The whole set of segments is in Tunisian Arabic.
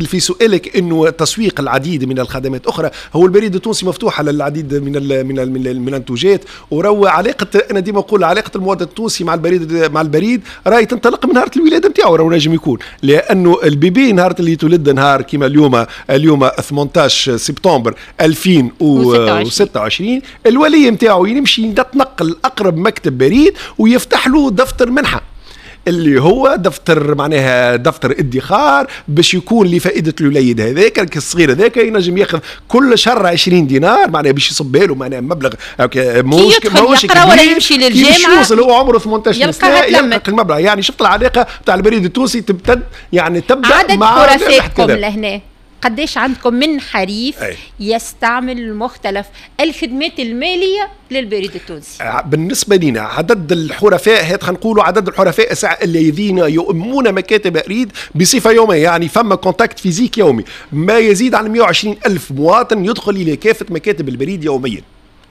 في سؤالك انه تسويق العديد من الخدمات اخرى، هو البريد التونسي مفتوح على العديد من المنتوجات. وروى علاقة، انا ديما نقول علاقة المواطن التونسي مع البريد راهي تنطلق من نهار الولادة نتاعو، راهو نجم يكون لانه ال bébé نهار اللي يتولد، نهار كيما اليوم 18 سبتمبر 2026، الولي نتاعو يمشي يتنقل اقرب مكتب بريد ويفتح له دفتر منحه، اللي هو دفتر معناها دفتر ادخار باش يكون لفائدة الوليد هذاك الصغير هذاك، ينجم ياخذ كل شهر 20 دينار، معناها باش يصب له معناها مبلغ ماهوش ماهوش يقرا ولا يمشي للجامعه، يوصل هو عمره 18 سنة يلقى المبلغ. يعني شفت العلاقة تاع البريد التونسي تمتد، يعني تبدا عدد مع حرفائكم لهنا قديش عندكم من حريف يستعمل مختلف الخدمات المالية للبريد التونسي؟ بالنسبة لنا عدد الحرفاء، هات خلينا نقولوا عدد الحرفاء الذين يؤمون مكاتب بريد بصفة يومية، يعني فما contact physique يومي، ما يزيد عن 120 ألف مواطن يدخل إلى كافة مكاتب البريد يوميا.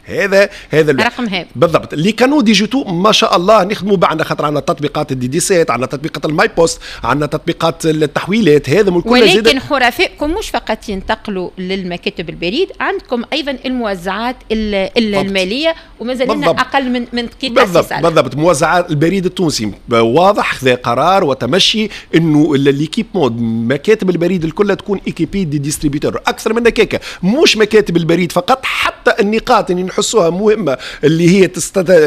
هذا رقم هذا بالضبط. les canaux digitaux ما شاء الله نخدموا بعنا، خاطر عندنا تطبيقات ال DD7، عندنا تطبيقات ال MyPost، عندنا تطبيقات التحويلات، هذا من كل. ولكن حرفائكم مش فقط ينتقلوا للمكاتب البريد، عندكم ايضا الموزعات المالية، ومازال لنا اقل من دقيقه. بالضبط. موزعات البريد التونسي واضح خذا قرار وتمشي انه l'équipement مكاتب البريد الكل تكون équipées des distributeurs. اكثر من هكاك، مش مكاتب البريد فقط، حتى النقاط اللي نحسوها مهمه، اللي هي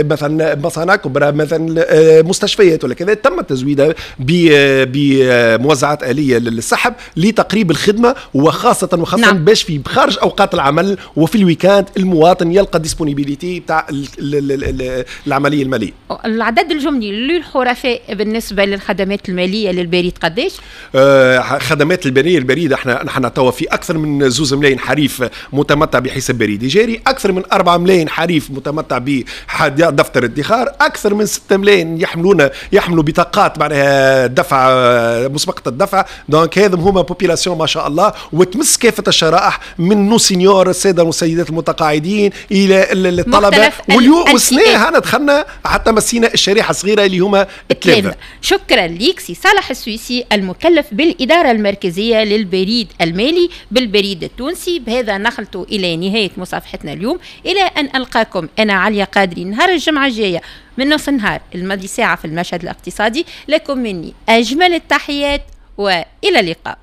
مثلا مصانع كبرى، مثلا مستشفيات ولا كذا، تم تزويدها بموزعات آلية للسحب لتقريب الخدمه، وخاصه باش في خارج اوقات العمل وفي ال week-end المواطن يلقى disponibilité تاع العملية الماليه. العدد الجملي للحرفاء بالنسبة للخدمات المالية للبريد قداش؟ خدمات المالية البريد، احنا نحن توا في اكثر من 2 ملايين حريف متمتع بحساب بريدي جاري، اكثر من 4 ملايين حريف متمتع بدفتر ادخار، اكثر من 6 ملايين يحملوا بطاقات معناها دفع مسبقة الدفع. donc هذم هما population ما شاء الله، وتمس كافة الشرائح من nos seniors، السادة والسيدات المتقاعدين، الى الطلبه، واليوم والسنة هنا دخلنا حتى مسينا الشريحة الصغيرة اللي هما التلامذه. شكرا ليك سي صالح السويسي، المكلف بالادارة المركزية للبريد المالي بالبريد التونسي. بهذا نخلط الى نهاية مصافحتنا اليوم، الى ان القاكم انا عليا قادري نهار الجمعة الجاية من نص النهار الماضي ساعة في المشهد الاقتصادي. لكم مني اجمل التحيات والى اللقاء.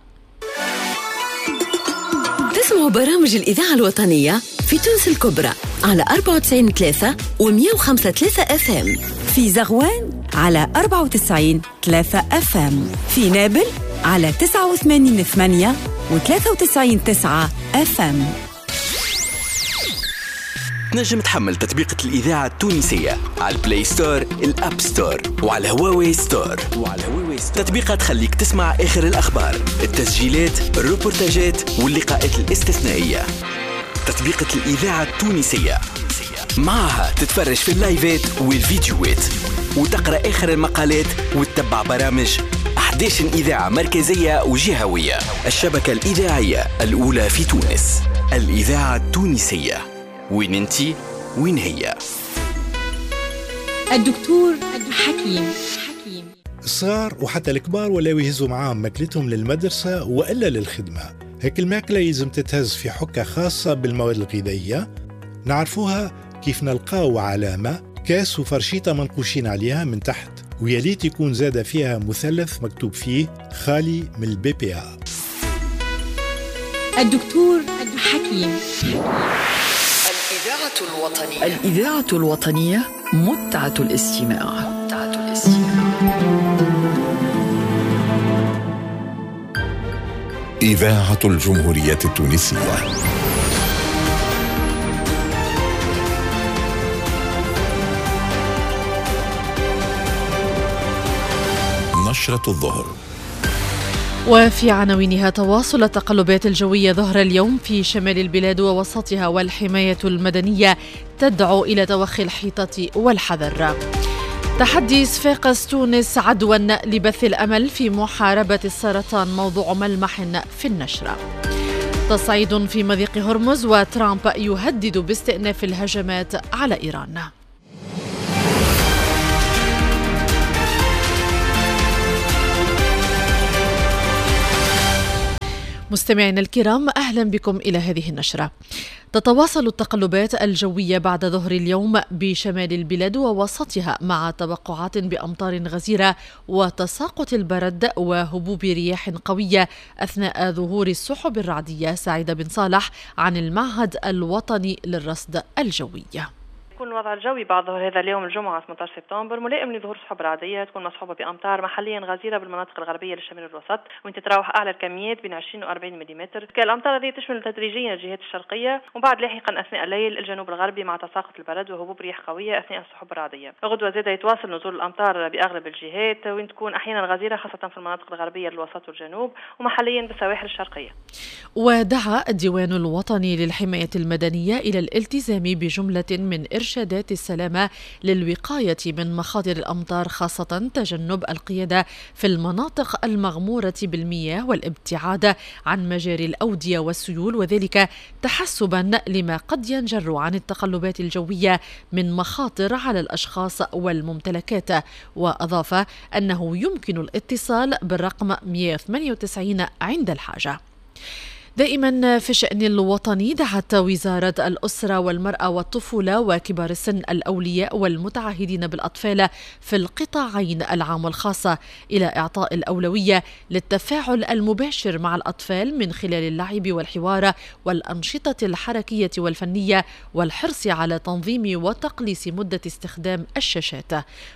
تسمعوا برامج الإذاعة الوطنية في تونس الكبرى على 94.3 و 105.3 FM، في زغوان على 94.3 FM، في نابل على 89.8 و 93.9 FM. تنجم تحمل تطبيقة الإذاعة التونسية على ال Play Store، ال App Store وعلى Huawei Store. وعلى Huawei Store تطبيقة تخليك تسمع آخر الأخبار، التسجيلات، الروبورتاجات واللقاءات الاستثنائية. تطبيقة الإذاعة التونسية، معها تتفرج في اللايفات والفيديوهات وتقرأ آخر المقالات وتتبع برامج 11 إذاعة مركزية وجهوية، الشبكة الإذاعية الأولى في تونس، الإذاعة التونسية. وين انتي وين هي. الدكتور حكيم. الصغار وحتى الكبار ولاو يهزوا معاهم ماكلتهم للمدرسة وإلا للخدمة. هيك الماكلة يلزم تتهز في حكة خاصة بالمواد الغذائية، نعرفوها كيف نلقاو علامة كاس وفرشيطة منقوشين عليها من تحت، ويا يكون زاد فيها مثلث مكتوب فيه خالي من ال BPA. الدكتور حكيم. الإذاعة الوطنية، الإذاعة الوطنية، متعة الاستماع، متعة الاستماع. إذاعة الجمهورية التونسية. نشرة الظهر. وفي عناوينها: تواصل التقلبات الجوية ظهر اليوم في شمال البلاد ووسطها، والحماية المدنية تدعو إلى توخي الحيطة والحذر. تحدي صفاقس تونس عدوا لبث الأمل في محاربة السرطان، موضوع ملمح في النشرة. تصعيد في مضيق هرمز، وترامب يهدد باستئناف الهجمات على إيران. مستمعينا الكرام، أهلا بكم إلى هذه النشرة. تتواصل التقلبات الجوية بعد ظهر اليوم بشمال البلاد ووسطها، مع توقعات بأمطار غزيرة وتساقط البرد وهبوب رياح قوية أثناء ظهور السحب الرعدية. سعيدة بن صالح عن المعهد الوطني للرصد الجوي. يكون الوضع الجوي بعد ظهر هذا اليوم الجمعة 18 سبتمبر ملائم لظهور سحب رعدية تكون مصحوبة بأمطار محليا غزيرة بالمناطق الغربية للشمال الوسط، وين تتراوح أعلى الكميات بين 20 و 40 ملم. الأمطار هذه تشمل تدريجيا الجهات الشرقية وبعد لاحقا أثناء الليل الجنوب الغربي مع تساقط البرد وهبوب رياح قوية أثناء السحب الرعدية. غدوة زادة يتواصل نزول الأمطار بأغلب الجهات، وين تكون أحيانا غزيرة خاصة في المناطق الغربية للوسط والجنوب ومحليا بالسواحل الشرقية. ودعا الديوان الوطني للحماية المدنية إلى الالتزام بجملة من إرشادات السلامة للوقاية من مخاطر الأمطار، خاصة تجنب القيادة في المناطق المغمورة بالمياه والابتعاد عن مجاري الأودية والسيول، وذلك تحسبا لما قد ينجر عن التقلبات الجوية من مخاطر على الأشخاص والممتلكات. وأضاف أنه يمكن الاتصال بالرقم 198 عند الحاجة. دائما في الشأن الوطني، دعت وزارة الأسرة والمرأة والطفولة وكبار السن الأولياء والمتعهدين بالأطفال في القطاعين العام والخاص إلى إعطاء الأولوية للتفاعل المباشر مع الأطفال من خلال اللعب والحوار والأنشطة الحركية والفنية، والحرص على تنظيم وتقليص مدة استخدام الشاشات.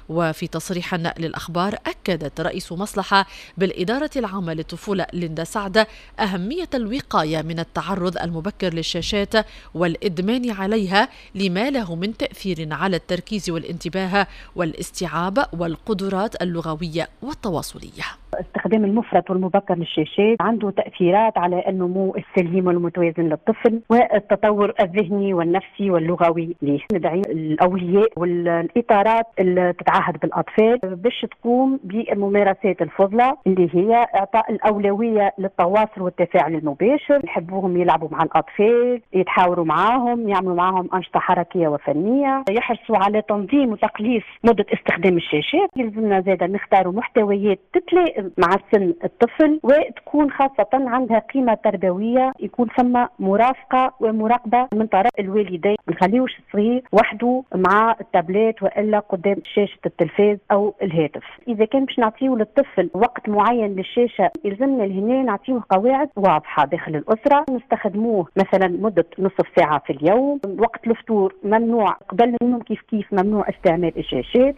وفي تصريح للأخبار، أكدت رئيس مصلحة بالإدارة العامة للطفولة ليندا سعد أهمية الوقاية من التعرض المبكر للشاشات والإدمان عليها لما له من تأثير على التركيز والانتباه والاستيعاب والقدرات اللغوية والتواصلية. استخدام المفرط والمبكر للشاشات عنده تأثيرات على النمو السليم والمتوازن للطفل والتطور الذهني والنفسي واللغوي ليه. ندعي الأولياء والإطارات اللي تتعهد بالأطفال باش تقوم بالممارسات الفضلى اللي هي إعطاء الأولوية للتواصل والتفاعل المباشر. نحبوهم يلعبوا مع الأطفال، يتحاوروا معاهم، يعملوا معاهم أنشطة حركية وفنية، يحرصوا على تنظيم وتقليص مدة استخدام الشاشات. يلزمنا زادة نختاروا محتويات تتلائم مع سن الطفل وتكون خاصة عندها قيمة تربوية، يكون ثم مرافقة ومراقبة من طرف الوالدين، ما نخليوش الصغير وحده مع التابلت وإلا قدام شاشة التلفاز أو الهاتف. إذا كان باش نعطيه للطفل وقت معين للشاشة يلزمنا لهنا نعطيه قواعد واضحة داخل الأسرة، نستخدموه مثلا مدة نصف ساعة في اليوم، وقت الفطور ممنوع، قبل النوم كيف كيف ممنوع استعمال الشاشات.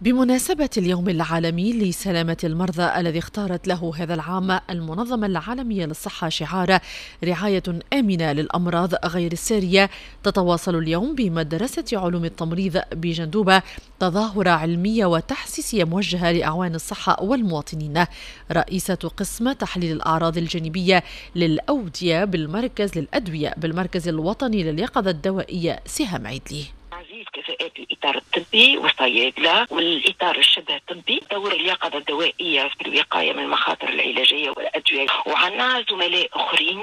بمناسبة اليوم العالمي لسلامة المرضى الذي اختارت له هذا العام المنظمة العالمية للصحة شعار رعاية آمنة للأمراض غير السارية، تتواصل اليوم بمدرسة علوم التمريض بجندوبة تظاهرة علمية وتحسيسية موجهة لأعوان الصحة والمواطنين. رئيسة قسم تحليل الأعراض الجانبية للأودية بالمركز للأدوية بالمركز الوطني لليقظة الدوائية سهام عيدلي. تعزيز كفاءات الإطار الطبي والصيادلة والإطار الشبه الطبي، دور اليقظة الدوائية في الوقاية من المخاطر العلاجية والأدوية، وعندنا زملاء آخرين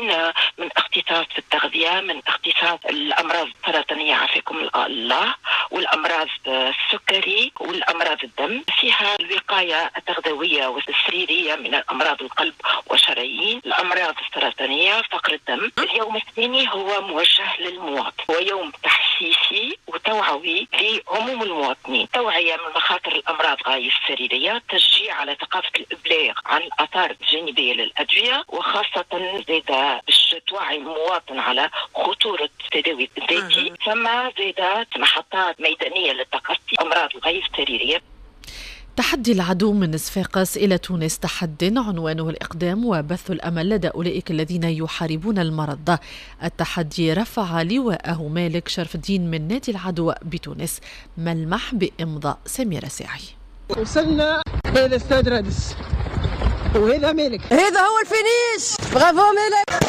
من اختصاص في التغذية، من اختصاص الأمراض السرطانية عافاكم الله، والأمراض السكري والأمراض الدم، فيها الوقاية التغذوية والسريرية من الأمراض القلب والشرايين، الأمراض السرطانية، فقر الدم. اليوم الثاني هو موجه للمواطن، هو يوم تحسيسي وتوعوي لعموم المواطنين، توعية من مخاطر الأمراض غير السريرية، تشجيع على ثقافة الإبلاغ عن الآثار الجانبية للأدوية، وخاصة زادة باش توعي المواطن على خطورة التداوي الذاتي، ثم زادة محطات ميدانية للتقصي أمراض غير السريرية. تحدي العدو من صفاقس إلى تونس، تحد عنوانه الإقدام وبث الأمل لدى أولئك الذين يحاربون المرض. التحدي رفع لواءه مالك شرف الدين من نادي العدو بتونس. ملمح بإمضاء سميرة ساعي. وصلنا إلى استاد رادس وهذا مالك، هذا هو ال finish، bravo مالك.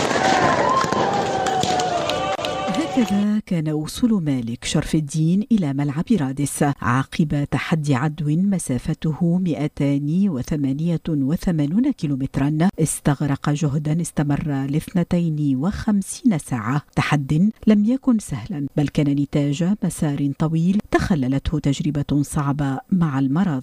هكذا كان وصول مالك شرف الدين إلى ملعب رادس عقب تحدي عدو مسافته 288 كيلومترا، استغرق جهدا استمر 52 ساعة. تحد لم يكن سهلا، بل كان نتاج مسار طويل تخللته تجربة صعبة مع المرض.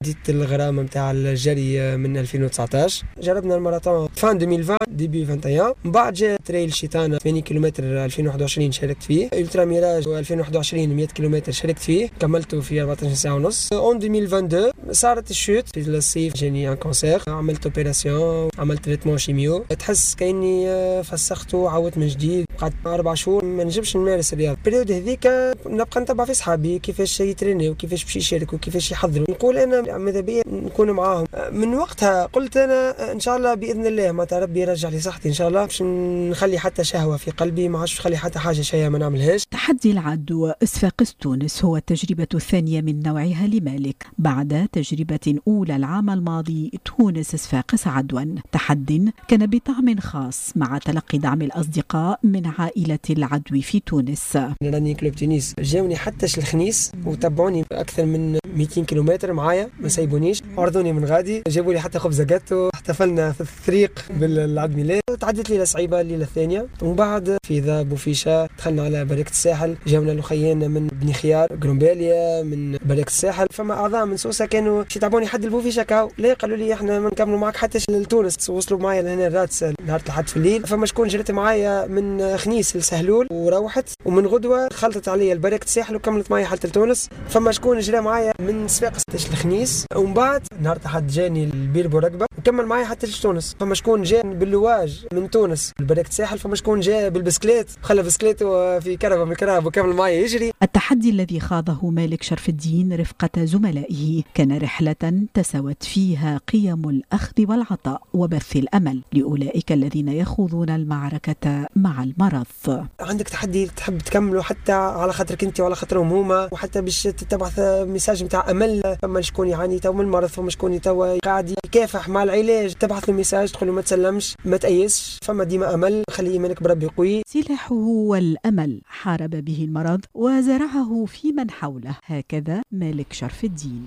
بديت الغرامة متاع الجري من 2019، جربنا الماراثون fin 2020 début 21، من بعد جاء trail شيطانة 80 كيلومتر 2021 شاركت فيه، Ultra Mirage 2021 100 كيلومتر شاركت فيه، كملته في 14 ساعة ونص. en 2022 صارت ال chute في الصيف، جاني un cancer، عملت opération، عملت traitement chimio، تحس كاني فسخته وعاودت من جديد. قعدت 4 شهور ما نجمش نمارس الرياضة. ال période هذيك نبقى نتبع في صحابي كيفاش يترينيو وكيفاش باش يشاركوا وكيفاش يحضروا، نقول انا ماذا بيا نكون معاهم. من وقتها قلت انا ان شاء الله باذن الله ما ربي يرجع لي صحتي ان شاء الله، باش نخلي حتى شهوة في قلبي، ما عادش نخلي حتى حاجة شيء ما نعملهاش. تحدي العدو صفاقس تونس هو التجربة الثانية من نوعها لمالك بعد تجربه اولى العام الماضي تونس صفاقس عدوا، تحد كان بطعم خاص مع تلقي دعم الاصدقاء من عائلة العدو في تونس. Running Club تونس جاوني حتى الخنيس وتبعوني اكثر من 200 كيلومتر معايا، ما سايبونيش، عرضوني من غادي، جابوا لي حتى خبزه جاتو، احتفلنا في الطريق بالعيد ميلاد. تعدت ليلة صعيبة الليلة الثانية، ومن بعد في ذا بوفيشه دخلنا على بركة الساحل، جاونا الاخيان من بني خيار قرنباليه من بركة الساحل، فما اعضاء من سوسة كانوا يتعبوني حد البوفيشه كاو، لا قالوا لي احنا ما نكملوا معك حتى لتونس، وصلوا معايا لهنا رادس نهار الأحد في الليل. فما شكون جرت معايا من خنيس لسهلول وروحت، ومن غدوه خلطت عليا البركة الساحل وكملت معايا حتى لتونس. فما شكون جرى معايا من صفاقس لخنيس، ومن بعد نهار الأحد جاني البير بورقبه وكمل معايا حتى لتونس. فما شكون جا باللواج من تونس لبركه الساحل، فما شكون جا بالبسكليت خلى بسكليته في كرهبه من كرهب وكمل معايا يجري. التحدي الذي خاضه مالك شرف الدين رفقة زملائه كان رحلة تساوت فيها قيم الأخذ والعطاء وبث الأمل لأولئك الذين يخوضون المعركة مع المرض. عندك تحدي تحب تكمله حتى على خاطرك انت وعلى خاطرهم هما، وحتى باش تبعث message نتاع امل. فما شكون يعاني تو من المرض، فما شكون تو قاعد يكافح مع العلاج، تبعث له message تقول له ما تسلمش ما تأيسش، فما ديما امل، خلي ايمانك بربي قوي. سلاحه هو الامل، حارب به المرض وزرعه في من حوله. هكذا مالك شرف الدين.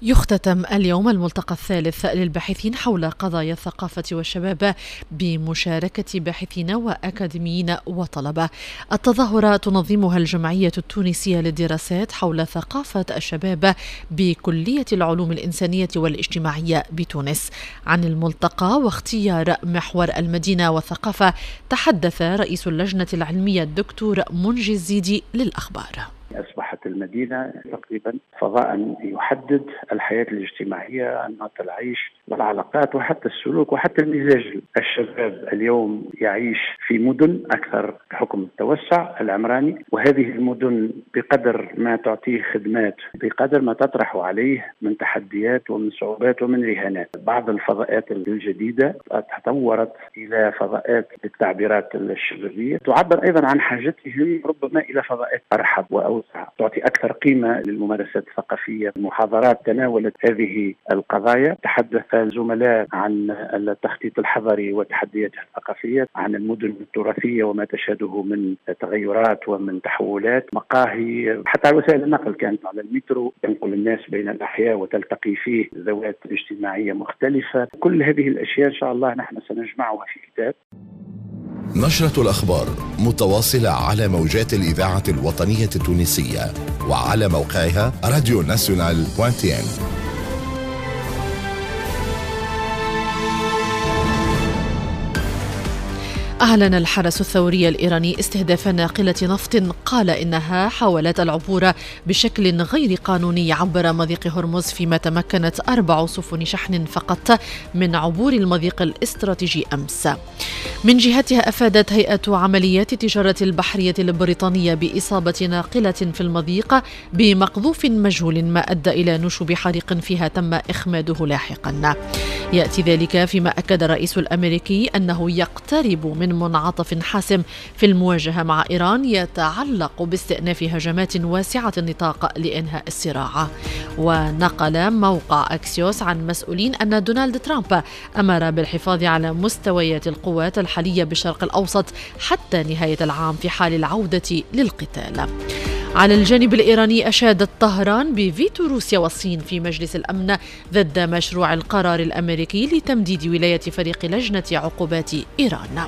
يختتم اليوم الملتقى الثالث للباحثين حول قضايا الثقافة والشباب بمشاركة باحثين وأكاديميين وطلبة. التظاهرة تنظمها الجمعية التونسية للدراسات حول ثقافة الشباب بكلية العلوم الإنسانية والاجتماعية بتونس. عن الملتقى واختيار محور المدينة والثقافة تحدث رئيس اللجنة العلمية الدكتور منجي الزيدي للأخبار. أصبحت المدينة تقريبا فضاء يحدد الحياة الاجتماعية، أنماط العيش والعلاقات وحتى السلوك وحتى المزاج. الشباب اليوم يعيش في مدن أكثر بحكم التوسع العمراني، وهذه المدن بقدر ما تعطيه خدمات بقدر ما تطرح عليه من تحديات ومن صعوبات ومن رهانات. بعض الفضاءات الجديدة تطورت إلى فضاءات للتعبيرات الشبابية تعبر أيضا عن حاجتهم ربما إلى فضاءات أرحب وأوسع، تعطي أكثر قيمة للممارسات الثقافية. المحاضرات تناولت هذه القضايا، تحدث الزملاء عن التخطيط الحضري وتحدياته الثقافية، عن المدن التراثية وما تشهده من تغيرات ومن تحولات، مقاهي، حتى على وسائل النقل كانت على المترو تنقل الناس بين الأحياء وتلتقي فيه ذوات اجتماعية مختلفة. كل هذه الأشياء إن شاء الله نحن سنجمعها في كتاب. نشرة الأخبار متواصلة على موجات الإذاعة الوطنية التونسية وعلى موقعها راديو ناسيونال .tn. أعلن الحرس الثوري الإيراني استهداف ناقلة نفط قال إنها حاولت العبور بشكل غير قانوني عبر مضيق هرمز، فيما تمكنت 4 سفن شحن فقط من عبور المضيق الاستراتيجي أمس. من جهتها أفادت هيئة عمليات التجارة البحرية البريطانية بإصابة ناقلة في المضيق بمقذوف مجهول ما أدى إلى نشوب حريق فيها تم إخماده لاحقا. يأتي ذلك فيما أكد الرئيس الأمريكي أنه يقترب من منعطف حاسم في المواجهة مع إيران يتعلق باستئناف هجمات واسعة النطاق لإنهاء الصراع. ونقل موقع أكسيوس عن مسؤولين أن دونالد ترامب أمر بالحفاظ على مستويات القوات الحالية بالشرق الأوسط حتى نهاية العام في حال العودة للقتال. على الجانب الإيراني، أشادت طهران بفيتو روسيا والصين في مجلس الأمن ضد مشروع القرار الأمريكي لتمديد ولاية فريق لجنة عقوبات إيران.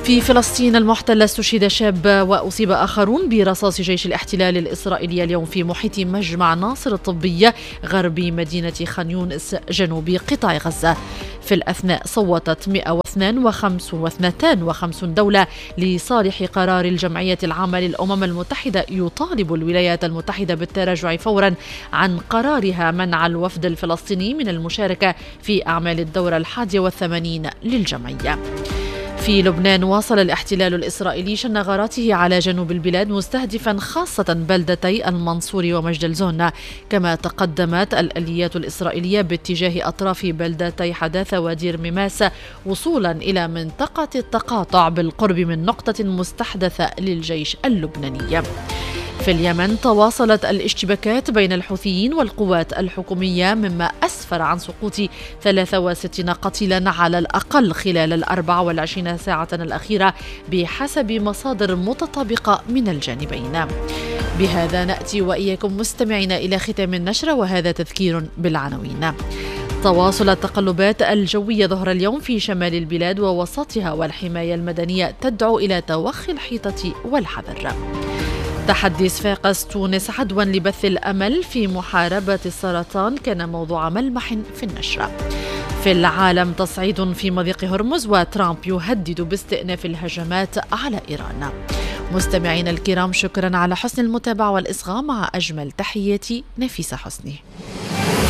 في فلسطين المحتلة، استشهد شاب وأصيب آخرون برصاص جيش الاحتلال الإسرائيلي اليوم في محيط مجمع ناصر الطبي غرب مدينة خان يونس جنوب قطاع غزة. في الأثناء، صوتت 152 دولة لصالح قرار الجمعية العامة للأمم المتحدة يطالب الولايات المتحدة بالتراجع فورا عن قرارها منع الوفد الفلسطيني من المشاركة في أعمال الدورة 81 للجمعية. في لبنان، واصل الاحتلال الإسرائيلي شن غاراته على جنوب البلاد، مستهدفا خاصة بلدتي المنصور ومجدل زون، كما تقدمت الآليات الإسرائيلية باتجاه أطراف بلدتي حداثة ودير ميماس وصولا إلى منطقة التقاطع بالقرب من نقطة مستحدثة للجيش اللبناني. في اليمن، تواصلت الاشتباكات بين الحوثيين والقوات الحكومية، مما أسفر عن سقوط 63 قتيلا على الأقل خلال ال24 ساعة الأخيرة بحسب مصادر متطابقة من الجانبين. بهذا نأتي وإياكم مستمعينا إلى ختام النشرة، وهذا تذكير بالعناوين. تواصل التقلبات الجوية ظهر اليوم في شمال البلاد ووسطها، والحماية المدنية تدعو إلى توخي الحيطة والحذر. تحدي صفاقس تونس عدوا لبث الأمل في محاربة السرطان كان موضوع ملمح في النشرة. في العالم، تصعيد في مضيق هرمز وترامب يهدد باستئناف الهجمات على إيران. مستمعينا الكرام، شكرا على حسن المتابعة والإصغاء، مع أجمل تحياتي نفيسة حسني.